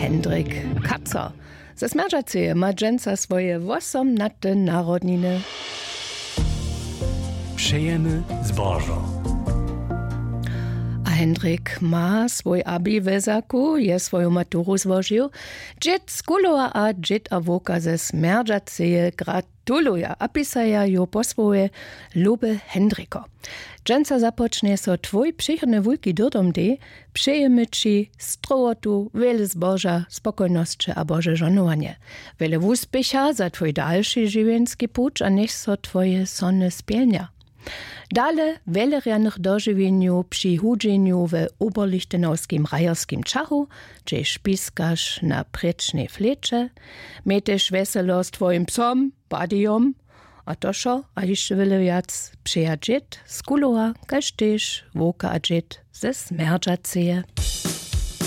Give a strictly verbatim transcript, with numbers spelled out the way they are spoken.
Hendrik Kaco ze Smjerdźaceje ma dźensa swoje wosomnate narodniny. Přejemy zbožo. A Hendrik ma swój abi we zaku, je swoju maturu złožił. Dźěd z Kulowa a dźěd a wowka ze Smjerdźaceje gratuluja a pisaja ju po swóje: Luby Hendriko, dźensa započnje so twój přichodny wulki dyrdom dej. Přejemy ći strowotu, wjele zboža, spokojnosće a bože žonowanje, wjele wuspěcha za twój dalši žiwjenski puć a njech so twoje sony spjelnja. Dale wjelerjanych dožiwjenju při hudźenju we oberlichtenowskim rajerskim čachu, hdźež piskaš na prěčnej fleće. Mějteš wjeselo z twojim psom Badijom. A to wšo a hišće wjele wjac přeja dźěd z Kulowa kaž tež wowka a dźěd ze Smjerdźaceje.